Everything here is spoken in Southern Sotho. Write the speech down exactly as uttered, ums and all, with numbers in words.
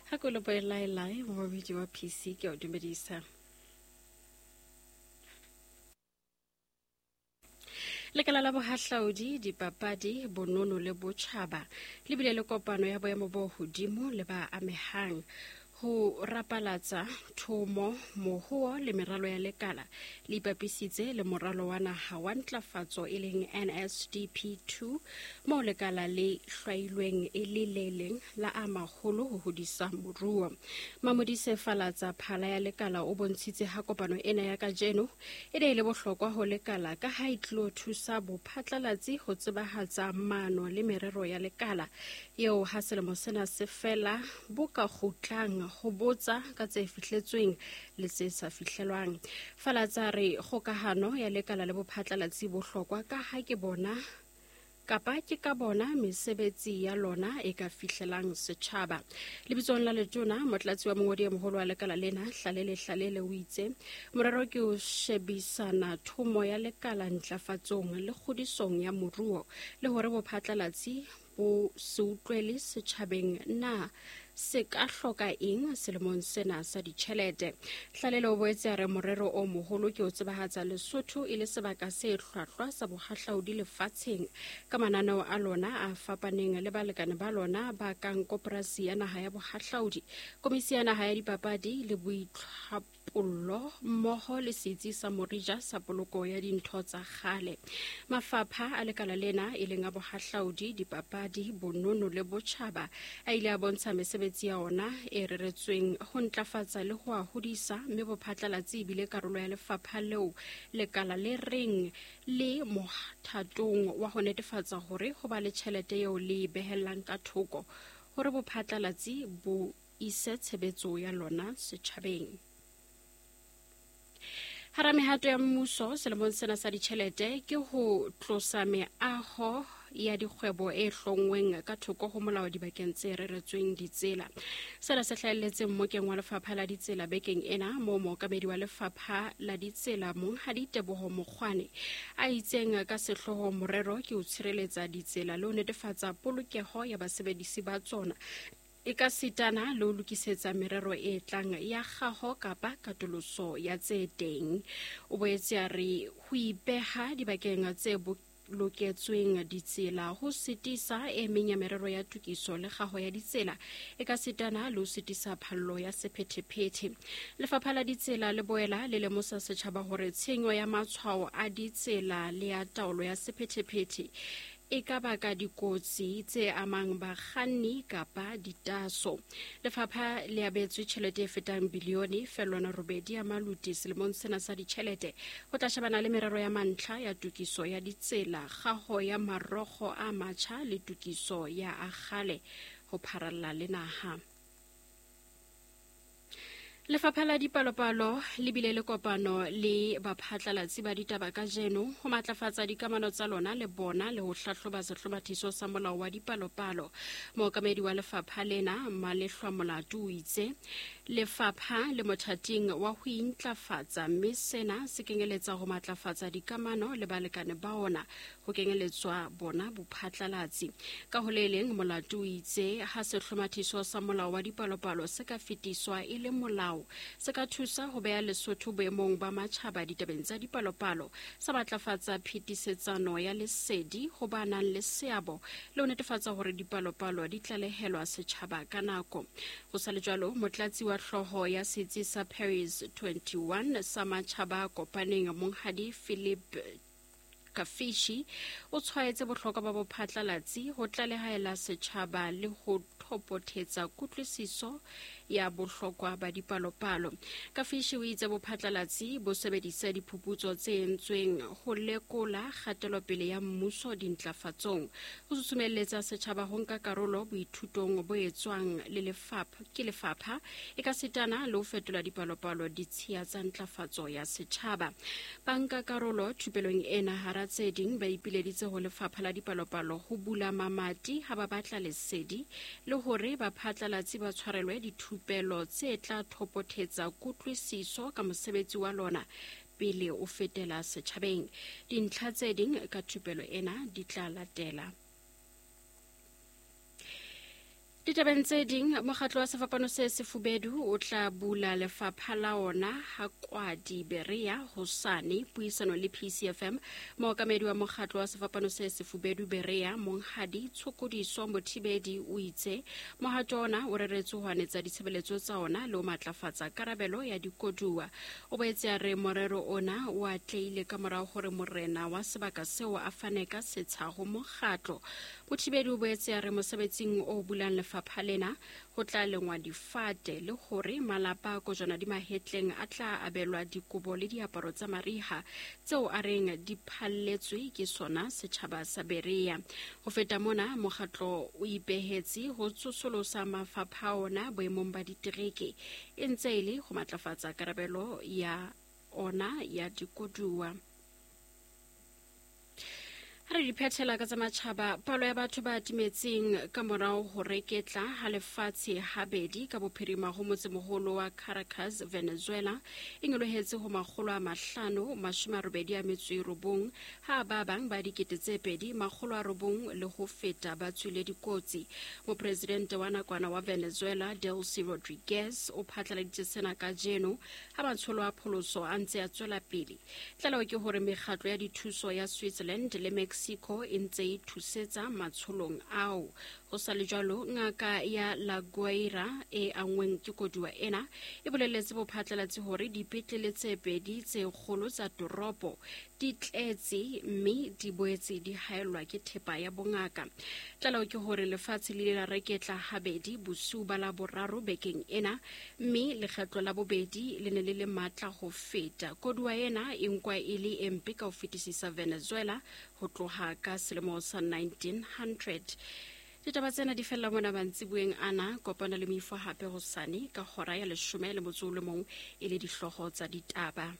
Ha ko le boelaelae momamedi wa P C ke o dumedisa. Lekala la bohahlaudi, dipapadi, bonono le botjhaba le bile le kopano ya boemo bo hodimo le ba amehang ho rapalatsa thomo, mohuo le meralo ya lekala le ipapisitse le moralo wa naha wa ntlafatso e leng N S D P two moo lekala le hlwailweng e le le leng la a maholo ho hodisa moruo. Mamodise Falatsa phala ya lekala o bontshitse ha kopano ena ya kajeno e ne e le bohlokwa ho lekala ka ha e tlo thusa bophatlalatsi ho tsebahatsa maano le merero ya lekala eo ha selemo sena se fela bo ka kgutlang ho botsa ka tse fihletsweng le tse sa fihlelwang. Falatsa re kgokahano ya lekala le bophatlalatsi bohlokwa ka ha ke bona kapa ke ka bona mesebetsi ya lona e ka fihlelang setjhaba. Lebitsong la letona, motlatsi wa mongodi e moholo wa lekala lena Hlalele Hlalele o itse morero ke ho shebisana thomo ya lekala ntlafatsong le kgodisong ya moruo le hore bophatlalatsi bo se utlwele setjhabeng na se ka hloka eng selemong sena sa ditjhelete. Hlalele o boetse a re morero o moholo ke ho tsebahatsa Lesotho e le sebaka se hlwahlwa sa bohahlaudi lefatsheng ka mananeo a lona a fapaneng le balekane ba lona ba kang Koporasi ya Naha ya Bohahlaudi, Komisi ya Naha ya Dipapadi le Boitlhapollo mmoho le setsi sa Morija sa poloko ya dintho tsa kgale. Mafapha a lekala lena e leng a bohahlaudi, dipapadi, bonono le botjhaba a ile a bontsha mesebetsi ya ona e reretsweng ho ntlafatsa le ho a hodisa, mme bophatlalatsi ebile karolo ya lefapha leo lekala le reng le mothatong wa ho netefatsa hore ho ba le tjhelete eo le e behellang ka thoko hore bophatlalatsi bo ise tshebetso ya lona setjhabeng. Hara mehato ya mmuso selemong sena sa ditjhelete ke ho tlosa meaho ya dikgwebo e hlongweng ka thoko ho molao dibakeng tse reretsweng ditsela. Sena se hlahelletse mmokeng wa lefapha la ditsela bekeng ena moo mookamedi wa lefapha la ditsela Monghadi Teboho Mokgwane a itseng ka sehlooho morero ke ho tshireletsa ditsela le ho netefatsa polokeho ya basebedisi ba tsona e ka sitana le ho lokisetsa merero e tlang ya kgaho kapa katoloso ya tse teng. O boetse a re ho ipeha dibakeng tse loketsweng ditsela ho sitisa e meng ya merero ya tokiso le kgaho ya ditsela e ka sitana le ho sitisa phallo ya sephethephethe. Lefapha la ditsela le boela le lemosa setjhaba hore tshenyo ya matshwao a ditsela le ya taolo ya sephethephethe e ka baka dikotsi tse amang bakganni kapa ditaso. Lefapha le abetswe tjhelete e fetang bilione fellwana robedi ya maluti selemong sena sa ditjhelete ho tla shebana le merero ya mantlha ya tokiso ya ditsela, kgaho ya marokgo a matjha le tokiso ya a kgale ho pharalla le naha. Lefapha la dipalopalo le bile le kopano le baphatlalatsi ba ditaba kajeno ho matlafatsa dikamano tsa lona le bona le ho hlahloba sehlomathiso sa molao wa dipalopalo. Mookamedi wa lefapha lena Malehlwa Molato o itse lefapha le mothating wa ho intlafatsa, mme sena se kenyeletsa ho matlafatsa dikamano le balekane ba ona ho kenyeletswa bona bophatlalatsi. Ka ho le leng, Molato o itse ha sehlomathiso sa molao wa dipalopalo se ka fetiswa e le molao se ka thusa ho beha Lesotho boemong ba matjhaba ditabeng tsa dipalopalo, sa matlafatsa phetisetsano ya lesedi ho ba nang le seabo le ho netefatsa hore dipalopalo di tlalehelwa setjhaba ka nako. Ho sa le jwalo, motlatsi wa hlooho ya setsi sa Paris twenty-one sa matjhaba a kopaneng Monghadi Philip Kafishi o tshwaetse bohlokwa ba bophatlalatsi ho tlalehaela setjhaba le ho thopothetsa kutlwisiso ya bohlokwa ba dipalopalo. Kafishi o itse bophatlalatsi bo sebedisa diphuputso tse entsweng ho lekola kgatelopele ya mmuso dintlafatsong, ho susumelletsa setjhaba ho nka karolo boithutong bo etswang le lefapha ke lefapha e ka sitana le ho fetola dipalopalo ditshiya tsa ntlafatso ya setjhaba. Banka karolo thupelong ena hara tse ding ba ipileditse ho lefapha la dipalopalo ho bula mamati ha ba batla lesedi le hore baphatlalatsi ba tshwarelwe dithupelo tse tla thopothetsa kutlwisiso ka mosebetsi wa lona pele o fetela setjhabeng. Dintlha tse ding ka thupelo ena di tla latela. Ditabeng tse ding, mokgatlo wa Sefapano se Sefubedu o tla bula lefapha la ona ha Kwadi Berea hosane. Puisano le P C F M, mookamedi wa mokgatlo wa Sefapano se Sefubedu Berea, Monghadi Tshokodiso Mothibedi, o itse mohato ona o reretswe ho anetsa ditshebeletso tsa ona le ho matlafatsa karabelo ya dikoduwa. O boetse a re morero ona o atlehile ka morao hore morena wa sebaka seo a fane ka setsha ho mokgatlo. Mothibedi o boetse a re mosebetsing o bulang lefapha lena ho tla lengwa difate le hore malapa a kojwana di mahetleng a tla abelwa dikobo le diaparo tsa mariha tseo a reng di phalletswe ke sona setjhaba sa Berea. Ho feta mona, mokgatlo o ipehetse ho tsosolosa mafapha ona boemong ba ditereke e ntse e le ho matlafatsa karabelo ya ona ya dikoduwa. Ha re di phethela ka tsa matjhaba, palo ya batho ba timetseng ka morao ho reketla ha lefatshe habedi ka bophirima ho motsemoholo wa Caracas, Venezuela, e nyolohetse ho makgolo a mahlano mashome a robedi a metso e robong, ha ba bang ba dikete tse pedi makgolo a robong le ho feta ba tswile dikotsi. Mopresidente wa nakwana wa Venezuela, Delcy Rodriguez, o phatlaladitse sena kajeno ha matsholo a pholoso a ntse a tswela pele. Tlaleho ke hore mekgatlo ya dithuso ya Switzerland le Mexico e ntse e thusetsa matsholong ao. Ho sa le jwalo, ngaka ya La Guaira e angweng ke koduwa ena e boleletse bophatlalatsi hore dipetlele tse pedi tse kgolo tsa toropo di tletse mme di boetse di haellwa ke thepa ya bongaka. Tlaleho ke hore lefatshe le ile la reketla habedi bosiu ba la boraro bekeng ena, mme lekgetlo la bobedi le ne le le matla ho feta. Koduwa ena e nkwa e le e mpe ka ho fetisisa Venezuela ho tloha ka selemo sa nineteen hundred. Ditaba tsena di fella mona mantsiboeng ana. Kopana le moifo hape hosane ka hora ya leshome le motso o le mong e le dihlooho tsa ditaba.